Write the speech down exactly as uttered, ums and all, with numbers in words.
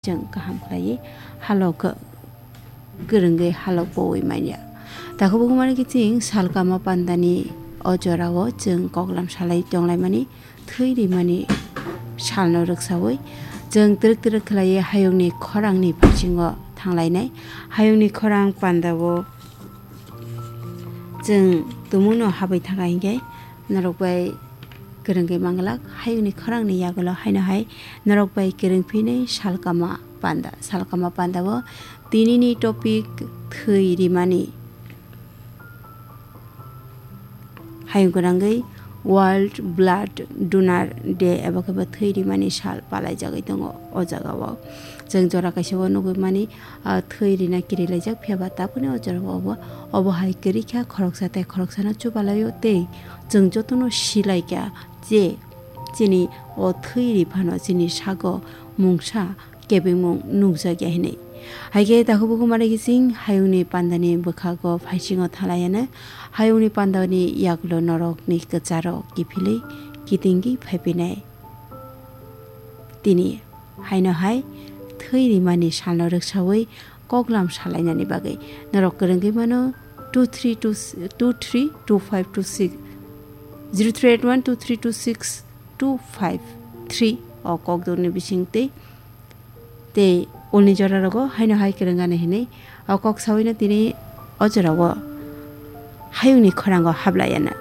chwng kaham khlaiwi halok kwrwngwi halok powi manya. Takhuk bukhuk mani kiching salkama pandani o jorao chwng koklam salai tonglaimani thwi rimani salno rwksawi chwng twrwk twrwk khlaiwi hayungni khorangni bisingo thanglainai. Hayungni khorang pandao chwng tumungno habwi thangkha hinkhe norok bai kwrwngwi manglak. Hayungni khorangni yagulo haino hai norok bai kwrwng phinai salkama panda. Salkama pandao tinini topic thwi rimani. Hayung gwnangwi World Blood Donor Day eba khe bo thwi rimani sal palaijagwi tongo o jagao. Chwng jora kaisa o nugwi mani, ah, thwi rina kirilaijak, phiya ba tabukni o jorao obo, obo hai kwrwi kha khoroksa tei khoroksano chubalaio tei chwng jotono silaikha je chini o thwi ri phano chini sago mungsa kebengmung nukjakya hinwi. Haikhe takhuk bukhuk mani kiching hayungni pandani bwkhago phaisingo thalaiano hayungni pandani yagulo norokni kwcharo kiphilwi kitingwi phaiphinai. Tini haino hai thwi rimani salno rwksawi koklam salainani bagwi norok kwrwngwi mano two three two, two three two five two six, zero three eight one two three two six two five three o kokdokni bisingtwi tei ulni jorarogo haino hai kwrwngani hinwi o kok sawino tini o jorao hayungni khorango hablaiano.